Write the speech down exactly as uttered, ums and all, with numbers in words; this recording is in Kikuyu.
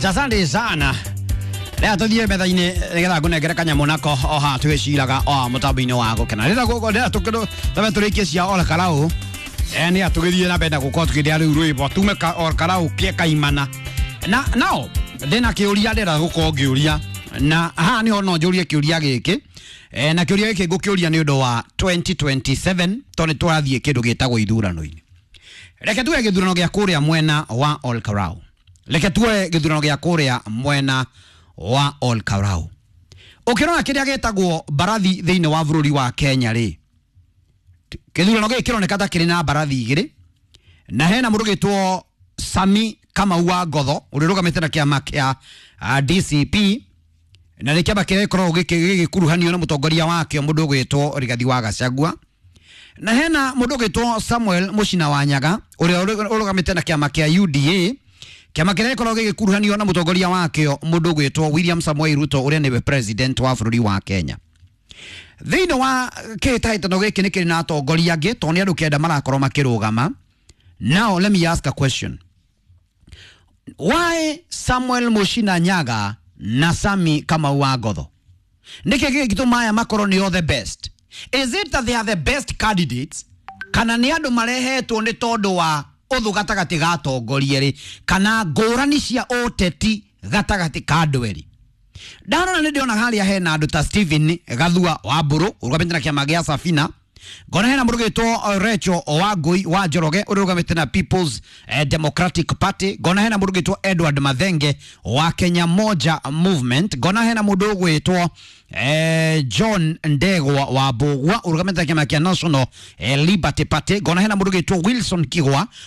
much, asante sana. Rĩa tũthiĩ metha-inĩ nĩgetha ngũnengere kanyamũ nako o haha tũgĩciraga o haha mũtambo-inĩ wa gũkena. Rĩrĩa gũkũ rĩrĩa tũkĩrũ tabe tũrĩkie cia Ol Kalou, eh nĩ tũgĩthiĩ na mbere na gũkorwo tũkĩrĩa rĩu rwĩmbo tume ka Ol Kalou kĩ kaimana. Na nao ndĩna kĩũria ndĩrenda gũkorwo ngĩũria, na haha nĩho no njũrie kĩũria gĩkĩ, eh, na kĩũria gĩkĩ ngũkĩũria nĩ ũndũ wa twenty twenty-seven, tondũ nĩ tũrathiĩ kĩndũ gĩtagwo ithurano-inĩ. Reke tuoe gĩthurano gĩa kũrĩa mwena wa Ol Kalou, reke tuoe gĩthurano gĩa kũrĩa mwena wa Ol Kalou. Ũkĩrora kĩrĩa gĩtagwo mbarathi thĩinĩ wa bũrũri wa Kenya rĩ, gĩthurano gĩkĩ kĩroneka ta kĩrĩ na mbarathi igĩrĩ, na hena mũndũ gĩtwo Sami Kamau wa Ngotho, ũrĩa ũrũgamĩte na kĩama kĩa ah, D C P, na nĩ kĩama kĩrĩa gĩkoragwo gĩkĩ- gĩgĩkuruhanio na mũtongoria wakĩo, mũndũ ũgwĩtwo Rigathi wa Gachagua, na hena mũndũ ũgwĩtwo Samuel Mũcina wa Nyaga, ũrĩa ũrũ- ũrũgamĩte na kĩama kĩa U D A, kĩama kĩrĩa gĩkoragwo gĩgĩkuruhanio na mũtongoria wakĩo, mũndũ ũgwĩtwo William Samoei Ruto, ũrĩa nĩwe president wa bũrũri wa Kenya. Thĩinĩ wa kĩhĩtahĩtano gĩkĩ nĩ kĩrĩ na atongoria angĩ, tondũ nĩ andũ kenda marakorwo makĩrũgama. Now let me ask a question: why Samuel Mushina Nyaga na Sami Kamau wa Ngotho? Nĩkĩ gĩgĩtũma aya makorwo nĩo the best? Is it that they are the best candidates, kana nĩ andũ marehetwo nĩ tondũ wa ũthũ gatagatĩ ga atongoria erĩ, kana ngũrani cia ũteti gatagatĩ ka andũ erĩ? Ndarora nĩ ndĩrona harĩa hena andũ ta Stephen Gathua wa Mbũrũ, ũrũgamĩte na kĩama gĩa Safina. Ngona hena mũndũ ũgwĩtwo Rachel Wangui wa Njoroge, ũrĩa ũrũgamĩte na People's eh, Democratic Party. Ngona hena mũndũ ũgwĩtwo Edward Mathenge wa Kenya Moja Movement. Ngona hena mũndũ ũgwĩtwo eh, John Ndegwa wa Mbũgua, ũrũgamĩte na kĩama kĩa National eh, Liberty Party. Ngona hena mũndũ ũgwĩtwo Wilson Kigwa.